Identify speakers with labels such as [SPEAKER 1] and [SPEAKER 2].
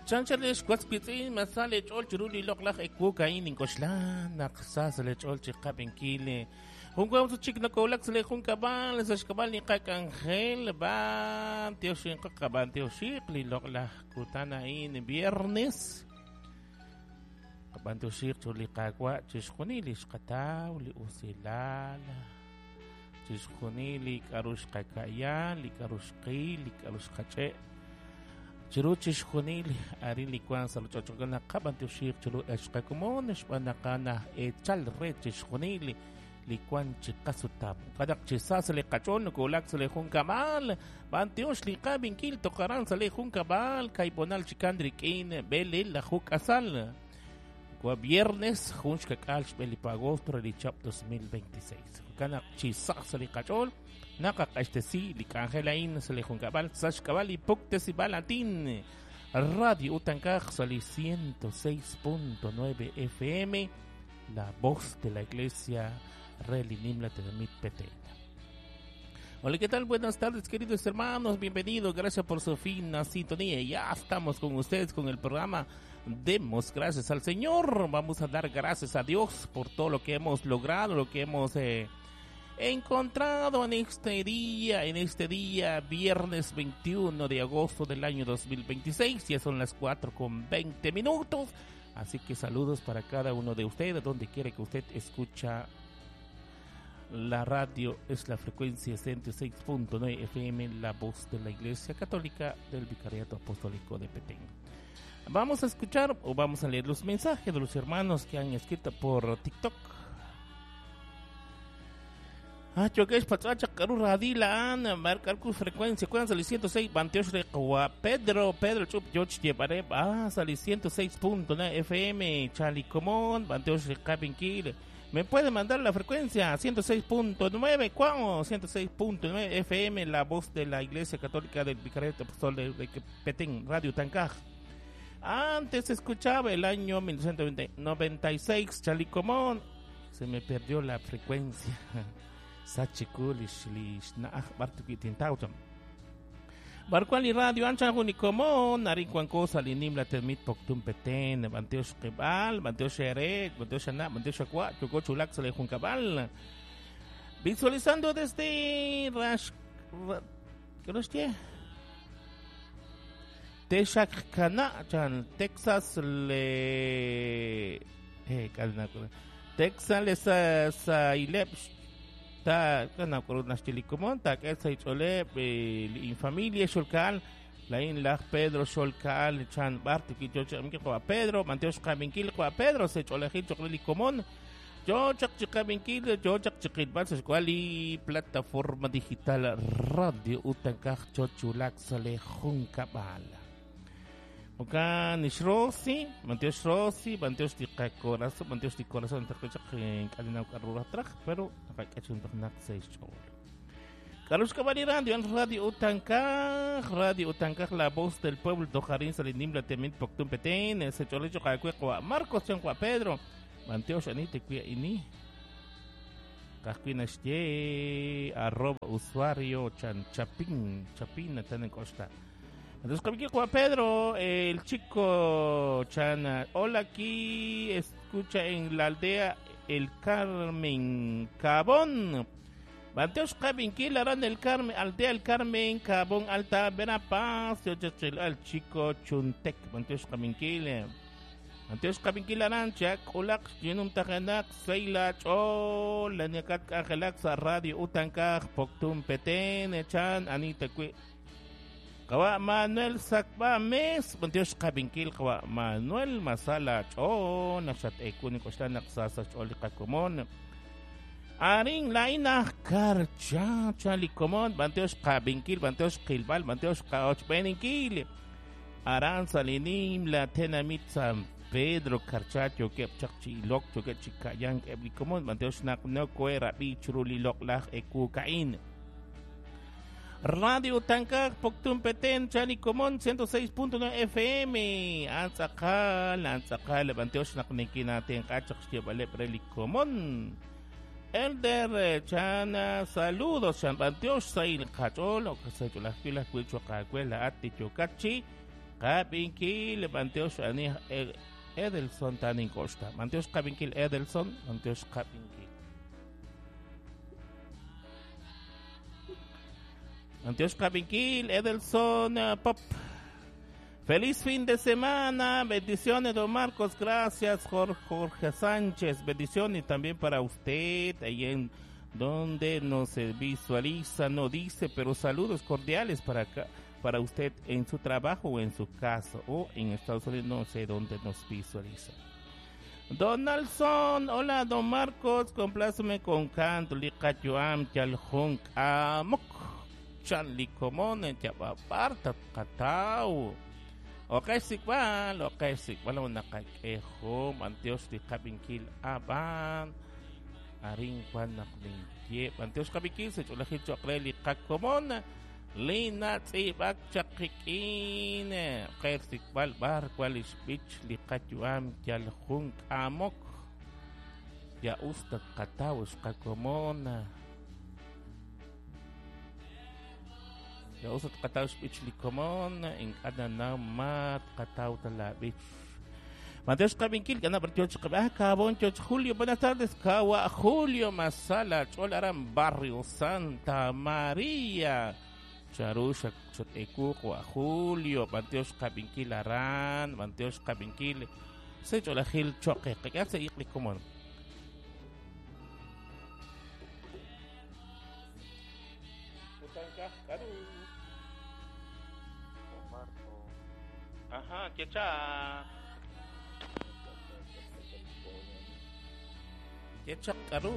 [SPEAKER 1] Chanchal ex was wiitz'in, ma sa leech'ool chiru li loq'laj ewu a'in? Nink'oxla naq sa sa' leech'ool chi qab'inkil. Jun kutan chik nokowulak sa' li junkab'al, sa' xk'ab'a' li qak'anjel, b'antioxinq qab'antioxiq li loq'laj kutan a'in viernes. Qab'antioxiq chiru li Qaawa' chixjunil li xqataw, li usilal, chixjunil li k'a'ru xqaka'ya, li k'a'ru xqil, li k'a'ru xqach'e'. Chiru chixjunil arin li wank sa' ruuchich'och' naqab'antioxiq chiru ex qakomon xb'aan naq a'an aj eechal re chixjunil li wank chi qasutam. Jo'kan naq chi sa sa' li qach'ool nokowulak sa' li junkab'al, b'antiox li qab'inkil toj aran sa' li junkab'al kayb'onal chikan rik'in b'eleelaju k'asal. Wa viernes jun xkak'aal xb'e li agosto re li chab' 2026. Jo'kan naq chi sa sa' li qach'ool naqaq'axtesi li k'anjel a'in sa' li junkab'al sa' xk'ab'a' li puktesib'al aatin Radio Utankaj sa' li 106.9 FM, la voz de la Iglesia re li Nimla Tenamit Petén. Hola, ¿qué tal? Buenas tardes, queridos hermanos. Bienvenidos. Gracias por su fina sintonía. Ya estamos con ustedes con el programa Demos gracias al Señor. Vamos a dar gracias a Dios por todo lo que hemos logrado, lo que hemos encontrado en este día, viernes 21 de agosto del año 2026. Ya son las 4:20. Así que saludos para cada uno de ustedes, donde quiera que usted escucha la radio, es la frecuencia 106.9 FM, la voz de la Iglesia Católica del Vicariato Apostólico de Petén. Vamos a escuchar o vamos a leer los mensajes de los hermanos que han escrito por TikTok. Ah, chokesh patzacha karu radila an marcar ku frecuencia cuán sali 106 bantiosh re Pedro Pedro chup yoch llevaré ah sali 106.9 FM Chalicomón bantiosh re Cabinkil. Me puede mandar la frecuencia 106.9 ¿cuán? 106.9 FM, la voz de la Iglesia Católica del Vicariato Apostólico de Petén, Radio Tancaj. Antes escuchaba el año 1996 Chalicomón. Se me perdió la frecuencia. Sachikulish lish naaj bartukitin tautam. Barcuali radio ancha junikomon, narin cosa linim la termit poctum peten, banteosh kebal, banteosh ere, banteosh ana, banteosh aqua, choco chulac sale juncabal. Visualizando desde Rash, ¿qué nos tiene? Texarkana, chan, Texas le, Texas le sa sa ilep ta kana naxtilikomon ta k'et sa ich'oleb li infamilia xolkaal lain laj Pedro xolkaal chan bar tikichoch qwa Pedro manteox qabinkil qwa Pedro se ch'olejil choqlilikomon yo chaq chiqabinkil yo chaq chiqilb'al sa xk'wal li plataforma digital Radio Utankaj chochulak sale junkab'al. Oka nixrosi, manteox rosi, manteox di corazón, manteox di corazón, pero Carlos Cabani Radio, Radio Utankaj, Radio Utankaj, la voz del pueblo, Dojarín, Salinim, la Temit, Poctum Petén, ese cholecho, Marcos, Chanqua Pedro, Manteox, Anite, Cuia, Ini, Casquina, arroba usuario, Chan, Chapín, Chapín, en Costa. Entonces, Juan Pedro, el chico Chana, hola, aquí escucha en la aldea El Carmen Cabón. Banteos Cabinquil, Arán del Carmen, aldea El Carmen, Cabón, Alta, Verapaz, al chico Chuntec, Banteos Cabinquil. Banteos Cabinquil, Arancha, Kulak, Yunum Tajanak, Seila, Chol, Laniacat, Angelak, Radio Utankaj, Poctum, Petén, Chan, Anita, Cui. Kawa Manuel Sakba Mes, Banteos Cabinkil, Kawa Manuel Masala Cho, Nashat Ekuni Kostan Naksasa Choli Kakumon. Arin Laina Karcha Chalikomon, Banteos Cabinkil, Banteos Kilbal, Banteos Kaoch Beninkil. Aran Salinim, La Tenamit San Pedro Karchacho, Kep Chakchi Lok, Choke Chikayan, Eblikomon, Banteos Nak No Kuera, Bichuruli Lok Laj Eku Kain. Radio Tankaj, Poctum Petén, Chalicomón, 106.9 FM. Antzakal, Antzakal, Banteosh Naknikina, Tenkachak, Xtiabale, Prelicomón. Elder Chana, saludos, Chan Banteosh, Sail Cachol, Ocasachola, Cuila, Cuicho, Cacuela, Ati, Chocachi, Qabinkil Manteox ani Edelson tanin koxta. Manteox qabinkil Edelson, Manteox qabinkil. Manteox qabinkil Edelson Pop. Feliz fin de semana, bendiciones don Marcos, gracias Jorge Sánchez, bendiciones también para usted ahí en donde no se visualiza, no dice, pero saludos cordiales para acá, para usted en su trabajo o en su casa o en Estados Unidos, no sé dónde nos visualiza. Donaldson, hola don Marcos, compláceme con canto, liqayuam, yaljun, amok, chan likomone, yabaparta, katau. Okay, sikwal, okay, sikwal, nakakejo, manteos liqabinkil aban, arin kwan naklinkie, manteos kabinkil, se cholajil chokre liqakomona, lina tzibak chakikin, okay, sikwal, bar, kwal ishbich, liqayuam, yaljun amok, ya usta katau, xkakomona. Ya usat kataw bich likomon in kada mat kataw talabich. Mateos Kabinkil, gana por Choch Kabon Choch Julio, buenas tardes, Kawa Julio Masala, Cholaran Barrio Santa María. Charusha Chotecuco a Julio, Mateos Kabinkil Aran, Mateos Kabinkil, Se Cholajil Choque, que hace Iqlikomon. Ajá, quecha. Quecha karu.